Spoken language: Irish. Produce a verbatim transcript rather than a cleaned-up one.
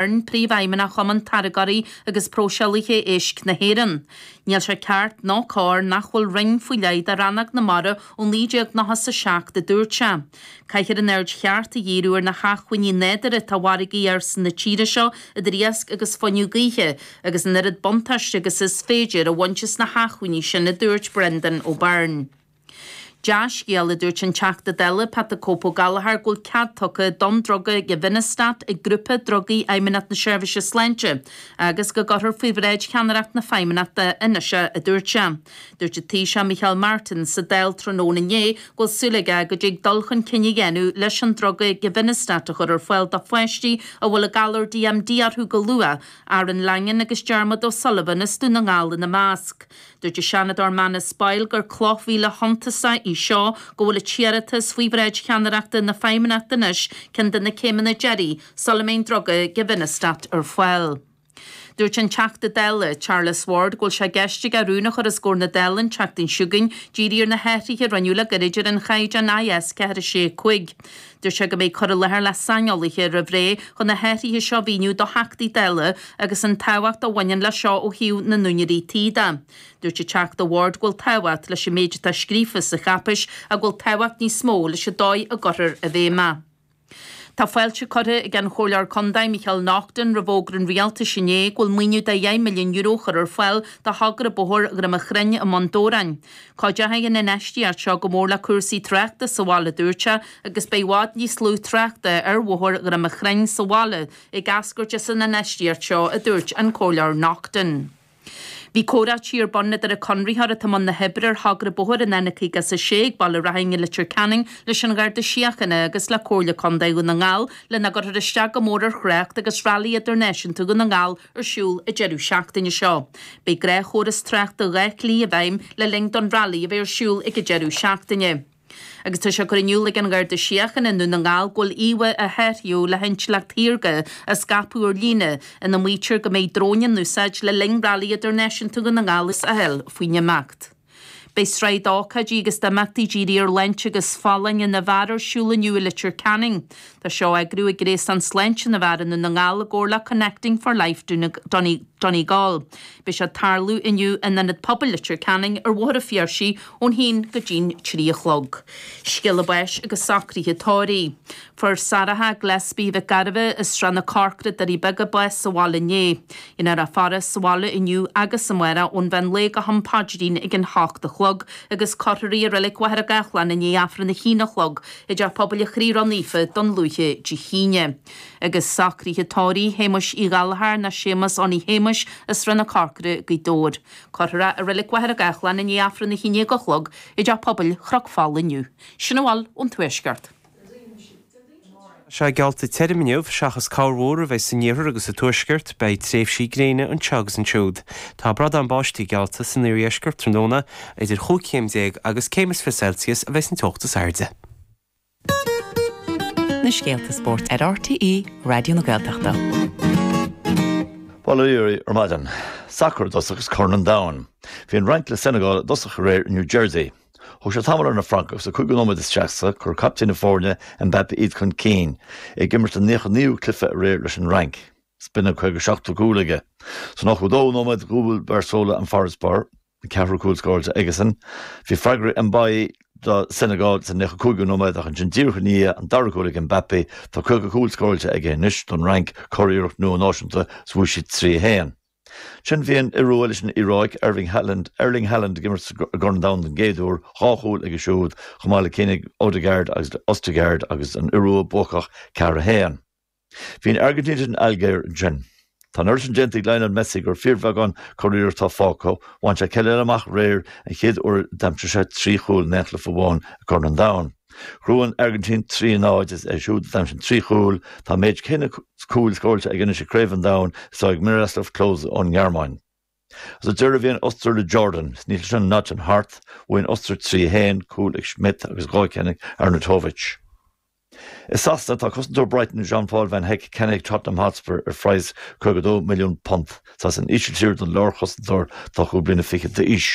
Príomhfheidhmeannach Chumann Táirgeoirí agus Próiseálaithe Éisc na hÉireann. Níl sé ceart ná cóir nach bhfuil roinn faoi leith do rannóg na mara ó naoi déag nócha a seacht a dúirt sé. Caithfear an aird cheart a dhíriú ar na hacmhainní nádúrtha atá i bhfarraigí ársa na tíre seo idir iasc agus fuinneamh gaoithe agus an oiread buntáiste agus is féidir a bhaint as na hacmhainní sin a dúirt Brendan O'Byrne. Dea-scéal a dúirt an Teachta Dála Pat the Cope Gallagher go bhfuil cead tugtha don druga Givinostat ag grúpa drugaí Fheidhmeannacht na Seirbhíse Sláinte agus go gcuirfear faoi bhráid cheannaireacht na Feidhmeannachta anois é a dúirt sé. Dúirt an Taoiseach Micheál Martin sa Dáil tráthnóna inné go bhfuil súil aige go dtig dul chun cinn a dhéanamh leis an druga Givinostat a chur ar fáil do pháistí a bhfuil an galar DMD orthu go luath, Aaron Langan agus Dermot O'Sullivan as Dún na nGall ina measc. Dúirt an Seanadóir Manus Boyle gur cloch mhíle shuntasach í seo go bhfuil an t-iarratas faoi bhráid cheannaireachta na Feidhmeannachta anois ceann de na céimeanna deiridh sula mbeidh an druga Givinostat ar fáil. Dúirt an Teachta Dála Charles Ward go bhfuil sé i gceist aige rún a chur os comhair na Dála an tseachtain seo chugainn dírithe ar na hathruithe a rinneadh le gairid ar an chaighdeán IS ceathair sé cúig. Dúirt sé go mbeidh cur i láthair le saineolaithe roimh ré chun na hathruithe seo a mhíniú do Theachtaí Dála agus an tábhacht a bhaineann le seo ó thaobh na n-úinéirí tí de. Dúirt an Teachta Ward go bhfuil tábhacht leis an méid atá scríofa sa cháipéis ach go bhfuil tábhacht níos mó leis an dóigh a gcuirtear i bhfeidhm é. Tá fáilte curtha ag an Chomhairleoir Contae Micheál Naughton roimh fhógra an rialtais inné go bhfuil maoiniú de dheich milliún euro chur ar fáil do thogra bóthair Dhroim Chrainn i mBun Dobhráin. Cuideoidh an infheistíocht seo go mór le cúrsaí tráchta sa bhaile dúirt sé agus beidh i bhfad níos lú tráchta ar bhóthar Dhroim Chrainn sa bhaile ag eascairt as an infheistíocht seo a dúirt an Comhairleoir Naughton. Bhí comhráití ar bun idir an conraitheoir atá i mbun na hoibre ar thogra bóthair an N caoga is a sé ag Baile Raithin i Leitir Ceanainn leis an Gharda Síochána agus le Comhairle Contae Dhún na nGall lena gcuirfear isteach go mór ar thrácht agus Railí Idirnáisiúnta Dhún na nGall ar siúl an deireadh seachtaine seo. Beidh gnáthchóras tráchta dhá shlí i bhfeidhm le linn don railí a bheith ar siúl ag an deireadh seachtaine. Agus tá sé curtha in iúl ag an Gharda Síochána i nDún na nGall go bhfuil íomhá a saothraíodh le hintleacht shaorga á scaipeadh ar líne ina maítear go mbeidh dróin in úsáid le linn Railí Idirnáisiúnta Dhún na nGall is a thuill faoin imeacht. Beidh sraith d'ócáidí agus d'imeachtaí dírithe ar shláinte agus folláine na bhfear ar siúl inniu i Leitir Ceanainn. Tá seo á eagrú ag Gréasán Sláinte na bhFear i nDún na nGall i gcomhar le Connecting for Life Donegal. Beidh sé ag tarlú inniu in Ionad Pobail Leitir Ceanainn ar Bhóthar an Phiarsaigh ón haon go dtí'n trí a chlog. Scéala báis agus socruithe tórraimh. Fuair Sarah Gillespie Mhic Gairbheith as Srath na Corcra Doirí Beaga bás sa bhaile inné. Dhéanfar a faire sa bhaile inniu agus amárach ón mheán lae go ham paidrín ag an hocht a chlog agus cuirfear í i Reilig Mhachaire Gathlán i ndiaidh Aifreann a haon a chlog i dTeach Pobail an Chroí Ró-Naofa Dún Lúiche Dé hAoine. Agus socruithe tórraimh Shéamuis Uí Ghallchóir nó Séamus Onni Shéamuis as Srath na Corcra Gaoth Dobhair. Cuirfear é i Reilig Mhachaire Gathlán i ndiaidh Aifreann a haon déag a chlog i dTeach Pobail Chnoc Fola inniu. Sin a bhfuil ón Tuaisceart. Sé geallta tirim inniu seachas corrmhúr a bheidh san iarthar agus sa tuaisceart, beidh tréimhsí gréine anseo agus ansiúd. Tá bradán báistí geallta san iardheisceart tráthnóna idir chúig chéim déag agus céim is fiche Celsius a bheidh an teocht is airde. Na scéalta spóirt ar RTÉ Raidió na Gaeltachta. Bail ó Dhia oraibh ar maidin. Sacar i dtosach agus Corn an Domhain. Bhí an Fhrainc le Senegal i dtosach aréir in New Jersey. Thóg sé tamall ar na Francaigh agus sa cúigiú nóiméad isteach sa chuir captaen na foirne Mbappé iad chun cinn, ag imirt an naocha naoú cluiche aréir leis an Fhrainc. Is b'in an caoga seachtú cúl aige. Sa nócha dóú nóiméad dhúbail Barzola an farasbarr, an ceathrú cúl scóráilte aigesan. Bhí freagra Mbaye do Senegal sa naocha cúigiú nóiméad ach ansin díreach i ndiaidh an dara cúl ag Mbappé tá caoga cúl scóráilte aige anois don Fhrainc curiarracht nua náisiúnta is bhuaigh siad trí a haon. Sin bhí an Iorua leis an Iaráic Erling Haaland Erling Haaland ag imirt i gCorn an Domhain den gcéad uair, dhá chúl aige siúd, chomh maith le cinn ag Odegaard agus Ostergaard agus an Iorua buacach ceathair a haon. Bhí an Airgintín leis an Ailgéir ansin. Tá an oiread sin déanta ag Lionel Messi gur fíorbheagán curiarracht atá fágtha, bhain sé ceithre eile amach aréir an chéad uair a d'aimsigh sé trí chúl in aon chluiche amháin i gCorn an Domhain. Ghnóthaigh an Airgintín trí a náid is é siúd a d'aimsigh an trí chúl, tá an méid céanna cúil scóráilte aige anois i gCraobh an Domhain is atá ag Miroslav Klose ón nGearmáin. Sa deireadh bhí an Ostair le Jordan, is níl sin Notting Hearth, bhuaigh an Ostair trí a haon, cúl ag Schmidt agus dhá cheann ag Arnautovic. I Sasana tá cosantóir Brighton Jean-Paul Van Hecke ceannaithe ag Tottenham Hotspur ar phraghas caoga dó milliún punt. Is as an Ísiltír don lárchosantóir atá cúig bliana fichead d'aois.